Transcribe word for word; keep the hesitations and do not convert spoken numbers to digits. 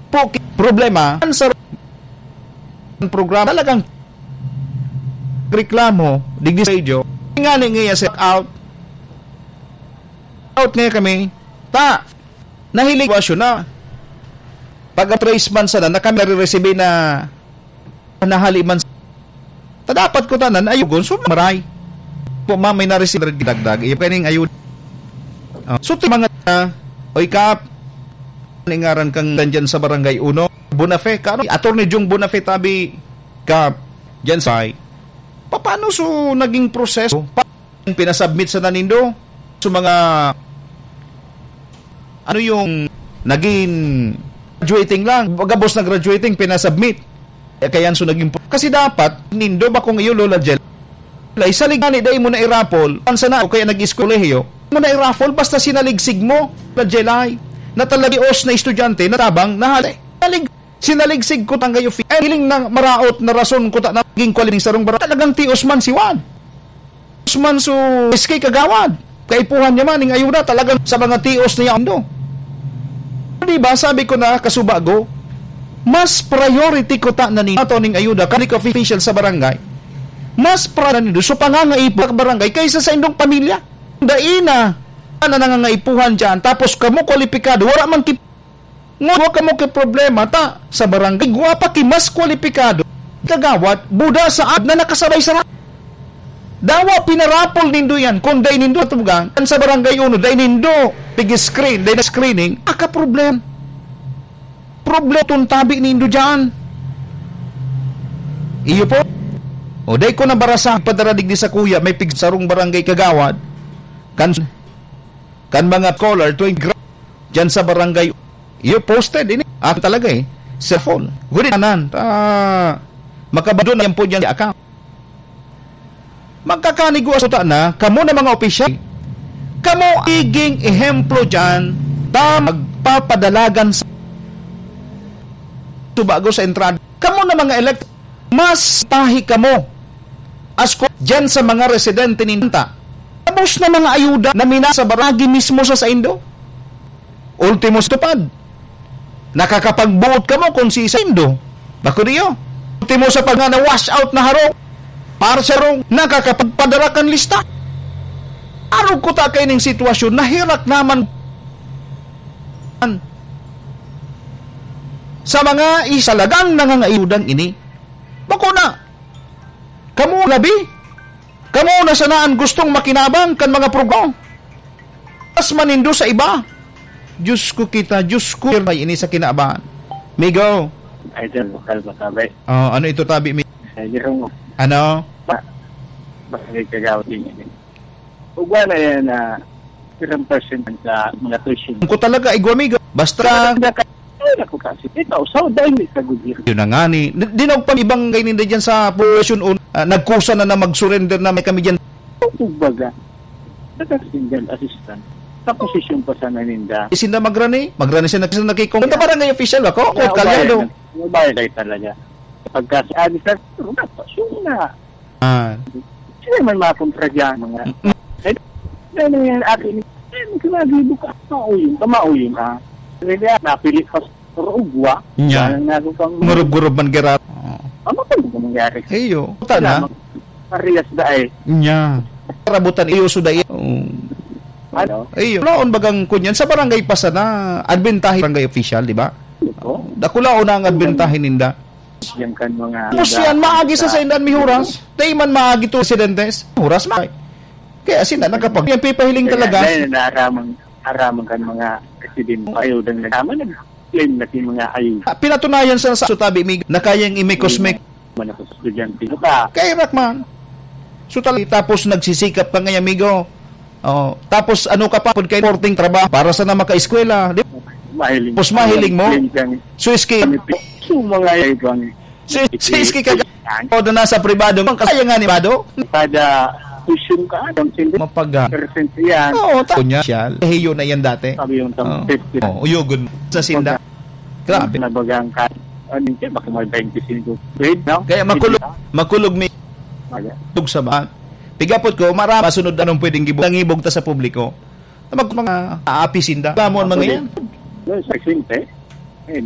po ki-, problema, ang sa programa, talagang reklamo, digdi sa radio, nga ni, nga sa out, out nga kami, ta, nahiling sitwasyon na. Pag trace man sana, na kami nare-receive na nahali man. Ta dapat ko tanan, ayugon, so maray. Po, ma, may nare-receive dagdag, iyo kaning ayud. Ah, so, ti mga, ah, oy, Kap, ngaran kang nandyan sa Barangay Uno, Bonafe, ka, ano, Attorney Jung Bonafe, tabi, Kap, dyan sa, paano so naging proseso? Pa-, pinasubmit sana nindo? So, mga, ano yung naging graduating lang? Pagkabos na graduating, pinasubmit. Eh, kaya so naging pro-, kasi dapat, nindo ba kung iyo, Lola Jel? Ay, salig gani, dai mo na i-raffle. Ang sana, o kaya nag-eskwelayo, mo na i-raffle, basta sinaligsig mo, Lola Jelay, na talaga os na estudyante, na tabang, na hali. Salig, sinaligsig ko tanggayo fi-, ay, hiling na maraot na rason ko ta naging kwali ning sarong bara-, talagang tios man si Juan. Tios man so, S K Kagawad. Kaipuhan niya man, ning ayuda, talagang sa mga tios niya, ando. Di ba, sabi ko na, kasubago, mas priority ko ta na ni ato ning ayuda, public official sa barangay. Mas pra-, nindo, so pangangaipo sa barangay kaysa sa indong pamilya. Dai na, na nangangaipuhan dyan, tapos kamo kwalipikado, wala man ki-, ngwa kamo ki problema, ta, sa barangay, gwa pa ki mas kwalipikado, kagawad, buda sa ad na nakasabay sa ra-, dawa pinarapol nindo yan, kung dai nindo tugang, kan sa barangay uno, dai nindo, pig-screen, dai na screening, aka problem. Problem tong tabi nindo dyan. Iyo po. O, dai ko nabarasa, padaradig di sa kuya, may pigsarong barangay kagawad. Kan, kan mga scholar, tuwing gra-, dyan sa barangay, iyo posted, ini. Ako talaga eh. Sa phone. Guri nanan. Ah, makabado na yan po dyan sa account. Magkakanigwa suta na, kamo na mga opisyal. Kamo iging ehemplo dyan, ta magpapadalagan sa subago sa entrada. Kamo na mga elect, mas tahi kamo. As ko, dyan sa mga residente ni Nanta. Tapos na mga ayuda na minasa baragi mismo sa saindo. Ultimo sa tupad. Nakakapagbuot kamo kung si saindo. Bako niyo. Ultimo sa pag na wash out na harong. Para sa harong, nakakapagpadara kan lista. Arog ko ta kay ning sitwasyon, nahirak naman sa mga isalagang nangangaiudan ini. Bako na. Kamo labi. Kamo na sana an gustong makinabang kan mga programa. Mas manindo sa iba. Diyos ko kita, Diyos ko, may ini sa kinaban. Migo. Idol, lokal ba, tabi? Oh, ano ito, tabi, mi-, Ay, di ko mo. Ano? Ba-, bakit kagawad din yan? Ugwa na yan na ilang percent sa mga tuition. Ko talaga, igwa, migo. Basta Ay, naku kasi. Ito, so, dahil sa gobyerno. Yun na nga ni. Di, di na pa ibang kayo ninda dyan sa population un, ah, nagkusa na na mag-surrender na may kami dyan. Kumbaga, nagkasindihan assistant. Sa posisyon pa sana ninda. Isinda magrani? Magrani siya nag-, nakikong. Punta Yeah. barangay official ako. Yeah, Kung kalyado. Mabaya kayo talaga. Pagka si Alisan, pero dapat, yun na. Ah. Sila man mga kontra dyan, mga, Mm. eh, may nangyayari akin, eh, magkakagibo ka, mauyong ka, mauyong ka. Kaya napili pa sa ugwa, Nya. Parang nago pang Ngurub-ngurub man gira. Oo. Ano pa yung mangyari? Iyo. Puta na. Kailangan parehas na eh. Nya. Karabutan iyo, suda iyo. Oo. Ano? Iyo. Laon bagang kunyan sa barangay pa sana, adbentahe barangay official, di ba? Ito. Dakulaon na ang adbentahe ninda. Yan kan mga Tapos yan, maagi sa saindan may huras. Dahil man maagi to, residentes, huras na. Kaya sila nakapag-, yan pipahiling Kaya talaga. Dahil naraman, naraman kan mga residente, ayaw din nagtama, nag-claim na yung mga ayaw. Ah, pinatunayan sa, sa sutabi, may, na kayang imikosmik. Mana ko estudyante mo ka. Kaya rak man. So, tal-, tapos nagsisikap ka ngayon, amigo. Oh, tapos ano ka pa, pud kay porting trabaho para sa na makaeskwela, di? Mahiling. Tapos mahiling mo? Mahiling kang So, iski. So, mga ibang So, so, iski ka, o, doon na sa pribado, ang kasaya nga ni pribado? Kada tuition ka, ang sindi. Mapaga. Percent yan. Oo, ta-, niya siya. Hiyo na yan dati. Sabi yung tang Oo. fifty. Oo, uyugon sa sinda. Pagka Grabe. Nabagang ka, ano yun, baka may twenty-five grade, no? Kaya makulog, Hindi, makulog mi ah. Maga. Tug sa bahan. Pigapot ko, marama sunod anong pwedeng gibog, nangibog ta sa publiko. Na mag-, mga aapi sinda. Alam mo ang mga Makulog. yan? Yun, sa simple.